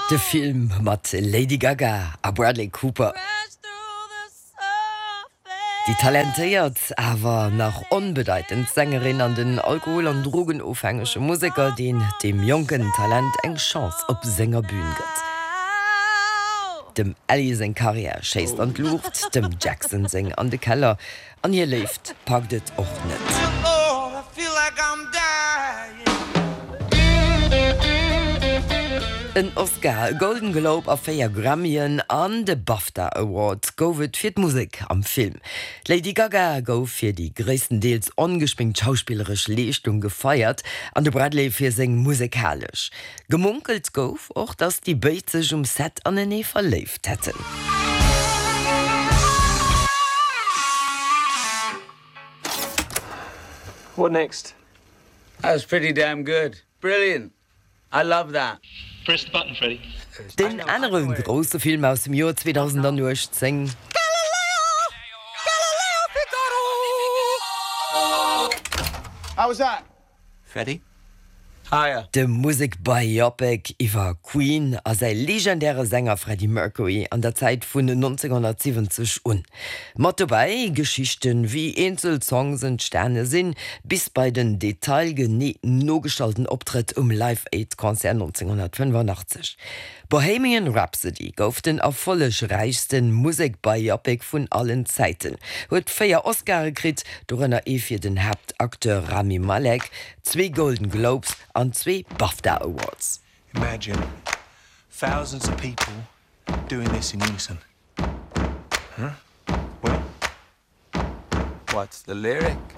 De Film mat Lady Gaga a Bradley Cooper. Déi talentéiert, awer nach onbedeitend Sängerin an den alkohol an drogenofhängege Museker, deen deem jonken Talent eng Chance op senger Bün gëtt. Dem Ellie seng Karriär schéisst an d'Luucht, dem Jackson seng an de Keller. An hir Léift packt et och net. En Oscar, e Golden Globe a 4 Grammyen an de BAFTA Award gouf et fir d'Musek am Film. D'Lady Gaga gouf fir déi gréisstendeels ongeschminkt schauspilleresch Leeschtung gefeiert an de Bradley fir seng musekalesch. Gemunkelt gouf och, dass déi béid sech um Set anenee verléift hätten. What next? That was pretty damn good. Brilliant! I love that. Press the button, Freddie. Deen anere grousse Film aus dem Joer 2018. Galileo! Galileo Figaro! How was that? Freddie? Hiya. De Musek-Biopic iwwer Queen a säi legendäre Sänger Freddie Mercury an der Zäit vun 1970 un. Mat dobäi Geschichten, wéi eenzel Songs entstane sinn, bis bei den detailgenee nogestallten Optrëtt um Live Aid Concert 1985. Bohemian Rhapsody gouf den erfollegräichste Musek-Biopic vun allen Zäiten, huet 4 Oscare kritt, dorënner ee fir den Haaptacteur Rami Malek, zwee Golden Globes an zwee BAFTA Awards. Imagine thousands of people doing this in unison. Huh? Well? What's the lyric?